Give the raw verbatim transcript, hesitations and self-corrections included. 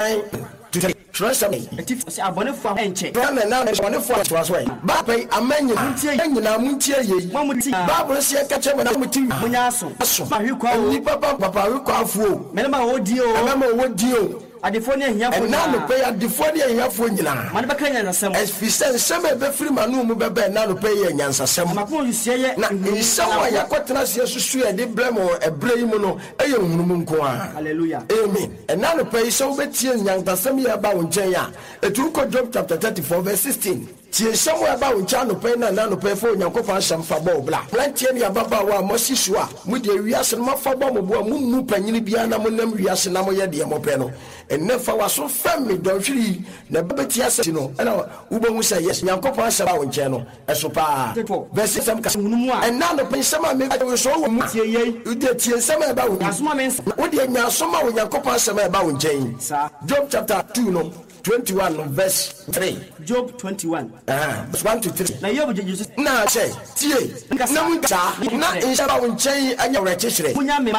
Nine to three. Twerɛsɛm yi. Atifi, ɔse abɔnefoɔ a ɛnkyɛ. Twerɛ na na abɔnefoɔ a toa so ɛ. Baapa yi, aman nyinaa. Montie. Nyinaa montie yei. Mo a mote nyinaa. Bible no sɛ yɛka kyerɛ mo na mote. Monyɛ aso. Aso. Ahwe kwa o. Nnipa pa papa ahwekwafoɔ o. Mmarima a wɔwɔ din o. Mmarima a wɔwɔ din o. Adefoɔ ne ahiafoɔ Ɛnnɛ nyinaa. anɔpa yi, adefoɔ ne ahiafoɔ nyinaa. Ma no bɛka nyansasɛm. Ɛfiri sɛ nsɛm a ɛbɛfiri m'ano mu bɛba ɛnnɛ anɔpa yi yɛ nyansasɛm. Na m'akoma nsusuiɛ yɛ Na nhunumu nsɛm a nkoa. yɛakɔtena ase asusu a yɛde brɛ mo wɔ ɛberɛ yi mu no yɛ nhunumu nko ara. Hallelujah. Amen. Ɛnnɛ anɔpa yi, sɛ wobɛtie nyansasɛm yi a ɛba wo nkyɛn a, ɛtu kɔ Job chapter thirty four verse sixteen. Tie nsɛm a ɛba wo nkyɛn anɔpa yi na ɛnnɛ anɔpa yi fa Onyankopɔn asɛm fa bɔ wo bra. Mmeranteɛ ne ababaawa a moasi so a mode wiase no moafa bɔ mo bo a mommu panyini biara na monam wiase na moyɛ deɛ mopɛ no, ɛnnɛ fa w'aso fɛm me dɔnhwere yi na ɛbɛbɛtie asɛm ti no ɛna wobɛhu sɛ yes, Nyankopɔn asɛm ba wo nkyɛn no ɛso paa. Verse asɛm ka sɛ, Ɛnnɛ anɔpa yi nsɛm a meka kyerɛ wo yi sɛ ɔwɔ mu. Tie yei. Wodeɛ tie nsɛm a ɛba wo Nya aso ma me nsɛm. Na wodeɛ nya aso ma Onyankopɔn asɛm a ɛba wo nkyɛn yi. Saa. Job chapter two no, twenty one no verse three. Job twenty one. Aha, verse one to three. Na Hiob gyegye so. Na sɛ, tie, Nkasa. na mu saa, na nhyɛ ba wo nkyɛn yi anya awerɛkyekyerɛ. Munya me